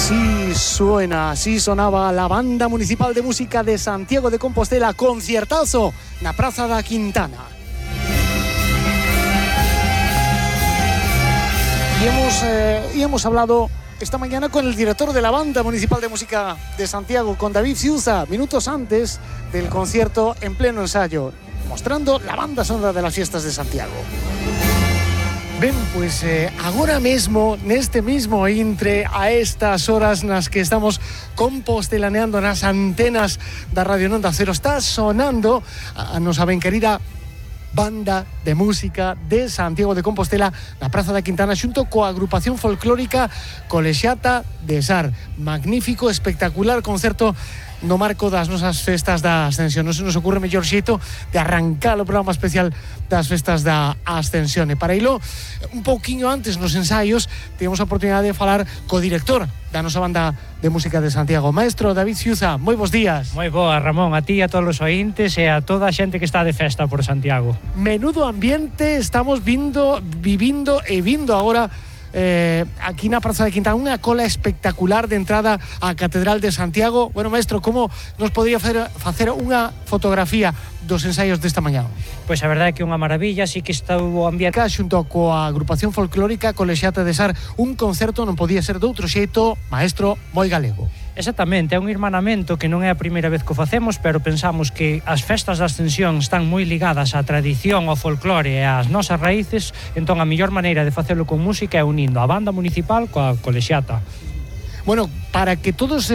Así suena, así sonaba la Banda Municipal de Música de Santiago de Compostela, conciertazo na Praza da Quintana. Y hemos hablado esta mañana con el director de la Banda Municipal de Música de Santiago, con David Ciuza, minutos antes del concierto en pleno ensayo, mostrando la banda sonora de las fiestas de Santiago. Ben, pois agora mesmo, neste mismo intre, a estas horas nas que estamos compostelaneando nas antenas da Radio Onda Cero, está sonando a nosa ben querida Banda de Música de Santiago de Compostela na Praza da Quintana xunto coa agrupación folclórica Colexiata de Sar. Magnífico, espectacular concerto no marco das nosas festas da Ascensión. Non se nos ocurre mellor xeito de arrancar o programa especial das festas da Ascensión. E para ilo, un pouquiño antes nos ensaios, tivemos a oportunidade de falar co director da nosa Banda de Música de Santiago, maestro David Ciuza. Moi bons días. Moi boa, Ramón, a ti, a todos os ointes e a toda a xente que está de festa por Santiago. Menudo ambiente estamos vivindo agora aquí na Praza de Quintana, unha cola espectacular de entrada á Catedral de Santiago. Bueno, maestro, como nos podría facer unha fotografía dos ensaios desta mañá? Pois a verdade é que é unha maravilla, así que está o ambiente xunto coa agrupación folclórica Colexiata de Sar, un concerto non podía ser doutro xeito, maestro, moi galego. Exactamente, é un irmanamento que non é a primeira vez que o facemos, pero pensamos que as festas da Ascensión están moi ligadas á tradición, ao folclore e ás nosas raíces, entón a mellor maneira de facelo con música é unindo a Banda Municipal coa Colexiata. Bueno, para que todos,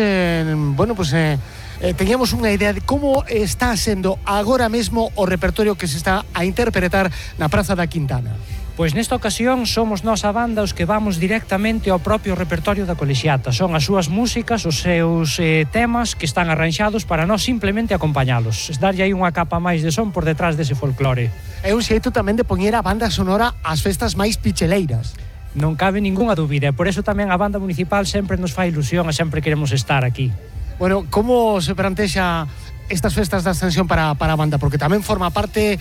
teníamos unha idea de como está sendo agora mesmo o repertorio que se está a interpretar na Praza da Quintana. Pois nesta ocasión somos nós a banda os que vamos directamente ao propio repertorio da Colexiata. Son as súas músicas, os seus temas que están arranxados para nós simplemente acompañalos. Darlle aí unha capa máis de son por detrás dese folclore. É un xeito tamén de poñer a banda sonora ás festas máis picheleiras. Non cabe ningunha dúbida, e por eso tamén a Banda Municipal sempre nos fai ilusión e sempre queremos estar aquí. Bueno, como se plantexa estas festas da Ascensión para a banda? Porque tamén forma parte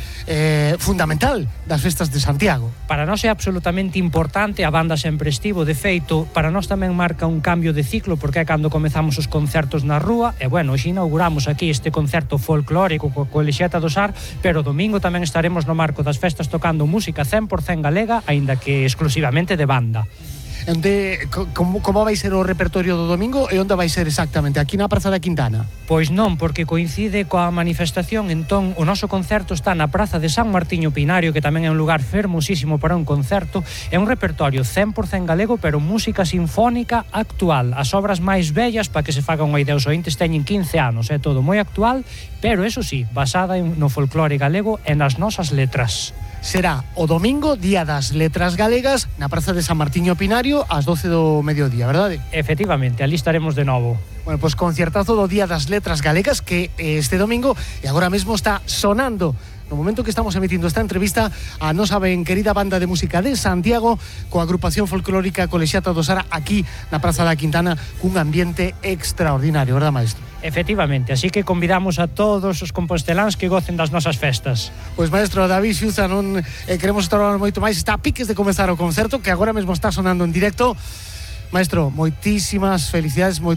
fundamental das festas de Santiago. Para nós é absolutamente importante, a banda sempre estivo, de feito, para nós tamén marca un cambio de ciclo, porque é cando comezamos os concertos na rúa, e bueno, hoxe inauguramos aquí este concerto folclórico co Colexiata do Sar, pero domingo tamén estaremos no marco das festas tocando música 100% galega, aínda que exclusivamente de banda. Como vai ser o repertorio do domingo e onde vai ser exactamente? Aquí na Praza da Quintana? Pois non, porque coincide coa manifestación, entón o noso concerto está na Praza de San Martiño Pinario, que tamén é un lugar fermosísimo para un concerto. É un repertorio 100% galego, pero música sinfónica actual. As obras máis bellas, para que se fagan unha idea, os ointes teñen 15 anos, é todo moi actual, pero eso sí, basada no folclore galego e nas nosas letras. Será o domingo, Día das Letras Galegas, na Praza de San Martiño Pinario, ás 12 do mediodía, verdade? Efectivamente, ali estaremos de novo. Bueno, pois concertazo do Día das Letras Galegas, que este domingo, e agora mesmo está sonando, no momento que estamos emitindo esta entrevista, a nosa ben querida Banda de Música de Santiago, coa agrupación folclórica Colexiata do Sar, aquí na Praza da Quintana, cun ambiente extraordinario, verdad, maestro? Efectivamente, así que convidamos a todos os composteláns que gocen das nosas festas. Pois, maestro David Ciuza, non queremos estar moito máis, está a piques de comezar o concerto, que agora mesmo está sonando en directo. Maestro, moitísimas felicidades, moi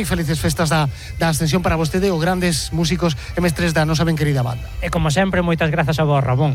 felices festas da Ascensión para vostede, os grandes músicos e mestres da nosa ben querida banda. E como sempre, moitas grazas a vos, Ramón.